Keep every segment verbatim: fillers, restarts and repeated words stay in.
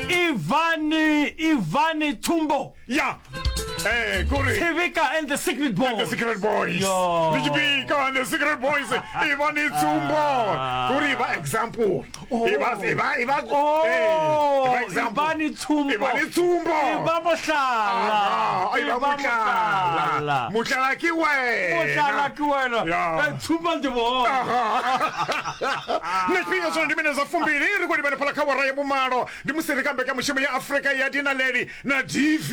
Ivani Ivani Tumbo ya eh kore Tshibika and the Secret Boys and the Secret Boys Yo. le Tshibika and the Secret Boys Ivani Tsumbo kore ba example Oh. e ba e ba e ba Oh, eh, e ba example Ivani Tsumbo Ivani Tsumbo Iba mohlala Ah, e ba mohlala mohlala ke wena Mohlala ke wena Ya. Eh, Tsumba ndi bona na tshifhinga zwino ndi mine dza fumbili ri khou livhane fhala kha wara ya vhumalo ndi musi ri kha mbekanyamushumo ya afrika ya dinaleli na dv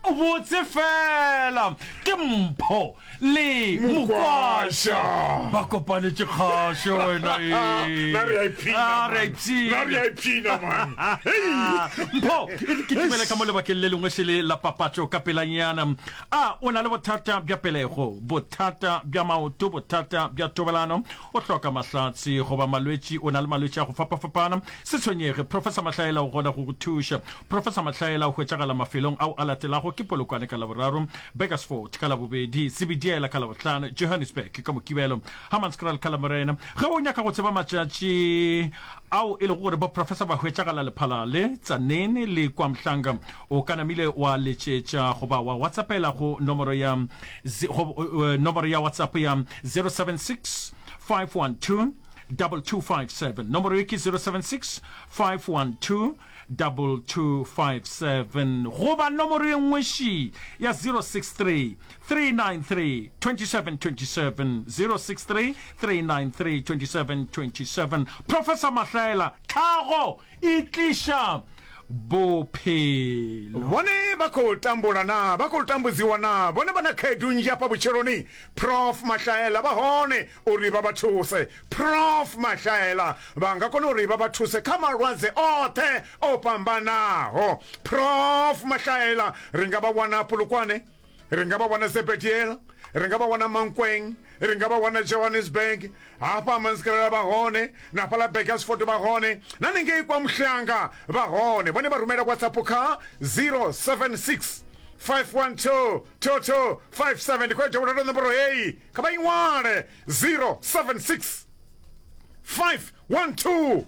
botse fela ke mpho le Mokwasha. ba kopanetše kgašo wena ee. Na re a ipshina, Ah, re a man. ipshina. Na re a ipshina, man. Hei. mpho e re ke tumele ka mo lebakeng le lengwe šele la papatšo ka pelanyana a o na le bothata bja pelego bothata bja maoto bothata bja tobelano o hloka mahlatse goba malwetši o na le malwetši a go fapafapana se tshwenyege professor mahlaela o gona go go thuša professor mahlaela o hwetšagala mafelong ao a latelago ke polokwane ka laboraro bakersford ka labobedi sebediela ka labohlano johannesburg ka mokibelo hammanskraal ka lamorena ge o nyaka go tseba matšatši ao e lego gore bo professor ba hwetšagala lephalale tsanene le kwa mhlanga o ka namile wa letšetša goba wa whatsappela go nomoro ya zi- go, eh, nomoro ya whatsapp ya zero seven six five one two double two five seven nomoro ye ke zero seven six five one two double two five seven goba nomoro ye nngwe ši ya zero six three three nine three twenty seven twenty seven zero six three three nine three twenty seven twenty seven Professor Mahlaela tlhago e tliša bophelo vhone vha khou tambula na vha khou tambudziwa na vhone vha na khaedu nnzhi hafha vhutshiloni prof mahlaela vha hone uri vha vha thuse prof mahlaela vha nga kona uri vha vha thuse kha malwadze oṱhe o fhambanaho prof mahlaela ri nga vha wana polokwane ri nga vha wana zebediela ri nga vha wana mankweng ri nga vha wana johannesburg hafha manskrela vha hone na fhaḽa bakersford vha hone na ningei kwa muhlanga vha hone vhone vha rumela whatsapp kha zero seven six five one two two two five seven ndi khou ya dovholola nomboro heyi kha vha i ṅwale zero seven six five one two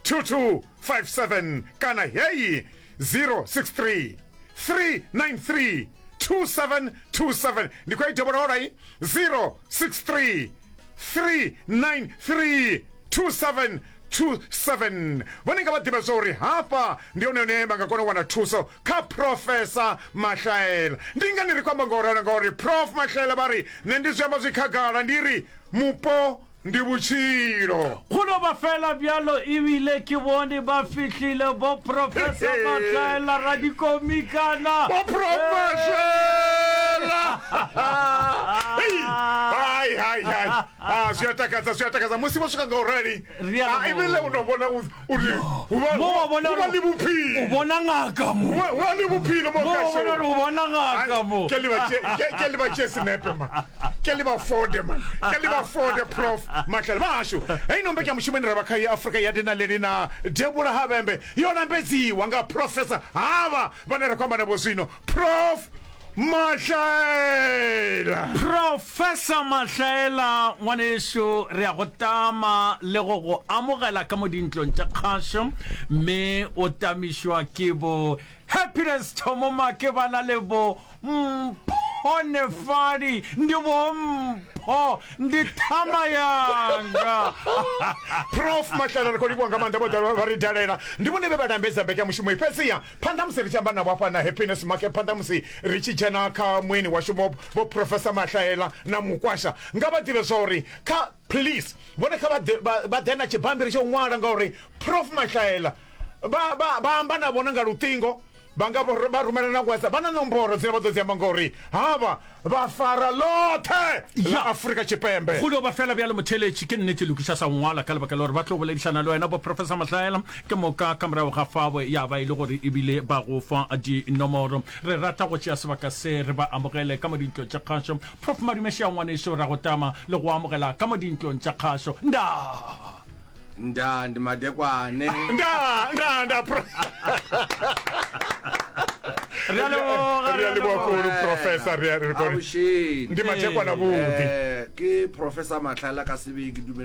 two two five seven kana heyi zero six three three nine three two seven two seven ndi khou i dovholola i zero six three three nine three two seven two seven vhone nga vha ḓivha zwa uri hafha ndi hone hune vha nga kona u wana thuso kha professor mahlaela ndi ngani ri khou amba nga u ralo ngauri prof mahlaela vha ri nṋe ndi zwi amba zwi khagala ndi ri mupo ndi vhutshilo go no ba fela bjalo ebile ke bone ba fihlile bo professor mahlaela radikomikana Bo prof mahlaela Hei, hai hai hai ah zwi a takadza zwi a takadza musi vho swika nga u rali Ri a ah, ebile o no vhona u- uri hu vha Mo wa bona hu vha gore- le bophelo o bona ngaka mo Hu vha- hu vha le bophelo mo mo wa bona gore o bona ngaka mo ke le ba tše- ke- ke le ba tše senepe man ke le ba fode man ke le ba fode prof mahlale ba hashu hei no mbekanyamushumo ine ra vha kha ya afrika ya dinaleli na debula havhembe yo lambedziwa nga professor havha vhane ra khou amba navho zwino prof mahlaela Professor Mahlaela ngwanešu re a go tama le go go amogela ka mo dintlong tša kgašo mme o tamišwa ke bo Happiness Thomomake ba na le bo Mphonefadi ndi bo Mpho ndi thama yanga prof mahlaela ri khou livhuwa nga maanḓa vho ḓa vha ri dalela ndi vhone vhe vha lambedza mbekanyamushumo iyi fhedziha phanḓa musi ri tshi amba navho hafha na happiness market phanḓa musi ri tshi dzhena kha mueni washu vho vho professor mahlaela na mukwasha nga vha ḓivhe zwa uri kha please vhone kha vha ḓe- vha vha ḓe na tshibammbiri tsho ṅwala ngauri prof mahlaela vha vha vha amba na vhone nga luṱingo vha nga vho- vha rumela na whatsapp vha na nomboro dzine vha ḓo dzi amba ngauri havha vha fara ḽoṱhe ḽa Ya. afrika tshipembe go dio ba fela bjalo motheletši ke nnete lokiša sa ngwala ka lebaka la gore ba tlo boledišana le wena bo professor mahlaela ke moka ka morago ga fao ya ba e le gore ebile ba go fa dinomoro re rata go tšea sebaka se re ba amogele ka mo dintlong tša kgašo prof madumešea ngwaneso ra go tama le go amogela ka mo dintlong tša kgašo nda nda ndi madekwane nda nda nda pro re a leboga re a leboga kudu professor re a re Aošene. ndi madekwana vhuḓi Eh, ke professor mahlaela ka sebeng ke dumela